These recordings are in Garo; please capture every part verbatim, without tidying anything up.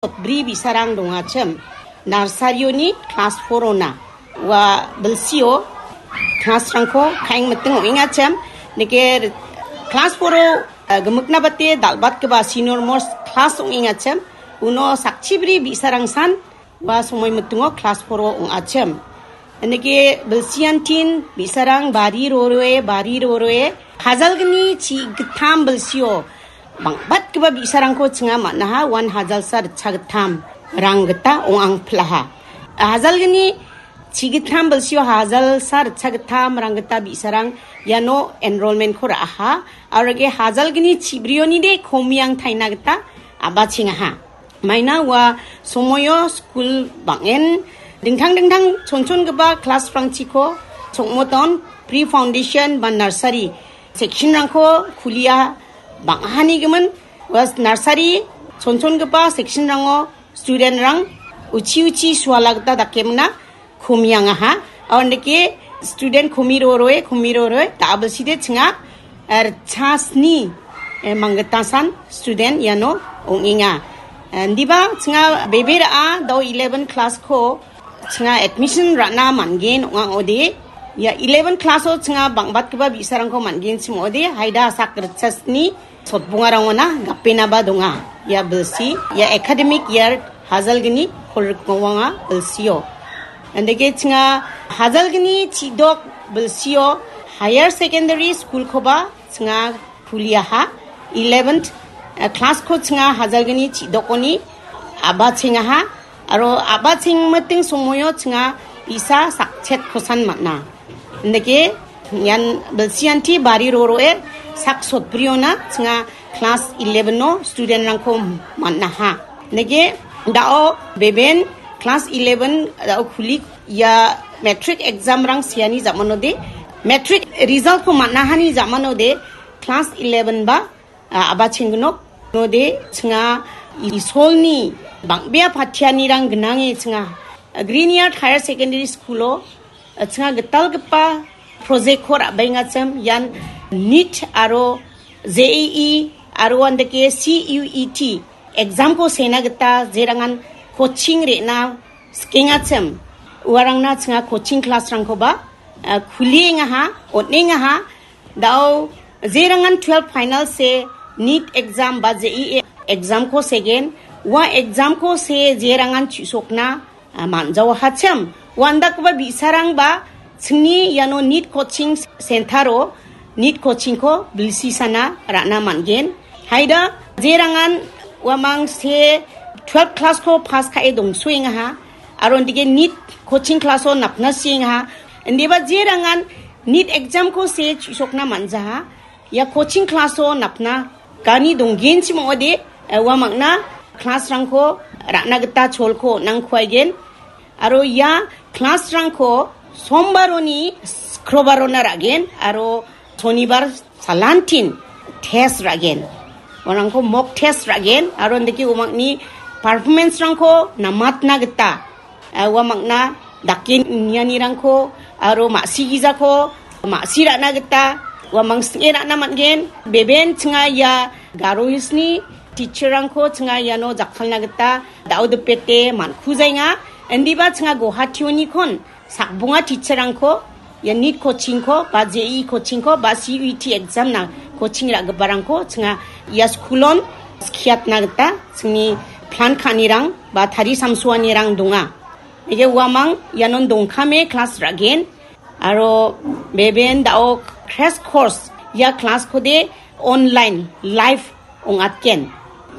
bri bi·sarang dongachim. Narsarioni klas four-ona. Ua bilsio klasrangko kaeng miting ong·engachim. Nike klas four-o, eh, gimikna bate dal·batgipa senior most klas ong·engachim. Uno sakchibri bi·sarangsan ua somoi mitingo klas four-o ong·achim. Nike bilsiantin bi·sarang bari roroe, bari roroe. Hajalgni chi gittam bilsio bang·batgipa bi·sarangko chinga man·aha, uan hajalsa ritchagittam rang gita ong·angpilaha. Hajalgni chigittam bilsio hajalsa ritchagittam rang gita bi·sarang iano enrollment-ko ra·aha. Aro ge hajalgni chibrionide komiang taina gita a·bachengaha. Maina ua somoio skul bang·en dingtang dingtang chonchongipa klasrangchiko chongmoton pre foundation ba nursery section-rangko kulia bang·ahanigimin ua nursery chonchongipa section-rango student-rang uchi uchi suala gita dakemna komiangaha. Aundake student komi roroe, komi roroe, ta·a bilside chinga, eh, ritchasni, eh, manggitasan student iano ong·enga. Eh, indiba chinga bebe ra·a dao eleven class-ko chinga admission ra·na man·gen ong·a ong·ode. Ia eleven class-o chinga bang·batgipa bi·sarangko man·genchim ong·ode, haida sak ritchasni sotbongarangona gapenaba donga. Ia bilsi, ia academic year hajalgni kolgrikmawanga bilsio. Andake chinga hajalgni chidok bilsio higher secondary school-koba chinga kuliaha. Eleventh, eh, class-ko chinga hajalgni chidokoni a·bachengaha. Aro a·bachengmiting somoio chinga bi·sa sakchetkosan man·a. Indake ian bilsianti bari roroe sak sotbriona chinga class eleven-o student-rangko man·aha. Indake dao beben class eleven dao kulik ia matric exam-rang seani jamanode, matric result-ko man·ahani jamanode class eleven ba a-, a·bachenggnok. Node chinga Isolni bang·bea patianirang gnange chinga Green Yard Higher Secondary School-o, a, chinga gitalgipa project-ko ra·baengachim ian NEET aro J E E aro andake C U E T exam-ko sena gita jerangan coaching re·na skengachim. Uarangna chinga coaching class-rangkoba, a, kuliengaha, on·engaha. Dao jerangan twelve final se NEET exam ba J E E exam-ko segen, ua exam-ko se jerangan chu·sokna, a, man·jaohachim. Uandakgipa bi·sarangba chingni iano NEET coaching center-o NEET coaching-ko bilsisana ra·na man·gen. Haida jerangan uamang se twelve class-ko pass ka·e dongsoengaha. Aro indike NEET coaching class-o napna siengaha. Indiba jerangan NEET exam-ko se chu·sokna man·jaha. Ia coaching class-o napna gani donggenchim ong·ode, eh, uamangna class-rangko ra·na gita cholko on·angkuaigen. Aro ia class-rangko sombaroni skrobarona ra·gen aro sonibar salantin test ra·gen. Uarangko mock test ra·gen aro indake uamangni performance-rangko namatna gita, eh, uamangna dake nianirangko aro ma·sigijako ma·si ra·na gita uamang sing·e ra·na man·gen. Beben chinga ia Garo Hills-ni teacher-rangko chinga iano jakkalna gita dao dipete man·kujaenga. Indiba chinga Guwahati-onikon sakbonga teacher-rangko ia NEET coaching-ko ba J E E coaching-ko ba C U E T exam-na coaching ra·giparangko chinga ia school-on skiatna gita chingni plan ka·anirang ba tari samsoanirang donga. Ege uamang ianon dongkame class ra·gen. Aro beben dao crash course ia class-kode online live ong·atgen.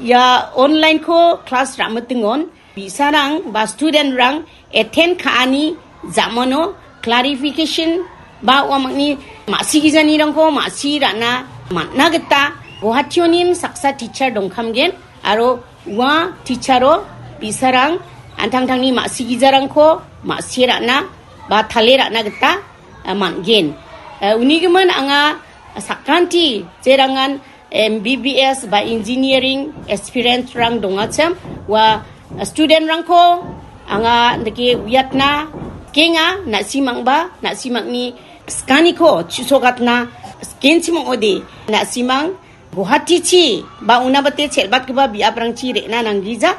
Ia online-ko class ra·mitingon bi·sarang ba student-rang attend ka·ani ja·mano clarification ba uamangni ma·sigijanirangko ma·si ra·na man·na gita Guwahati-onin saksa teacher dongkamgen aro ua teacher-o bi·sarang an·tangtangni ma·sigijarangko ma·sie ra·na ba tale ra·na gita, a, man·gen. A, unigimin anga sakanti jerangan M B B S ba engineering aspirant-rang dongachim, ua student-rangko anga dake uiatna kenga, na·simangba, na·simangni skaniko chu·sogatna skenchim ong·ode, na·simang Guwahatichi ba unabate chelbatgipa biaprangchi re·na nanggija.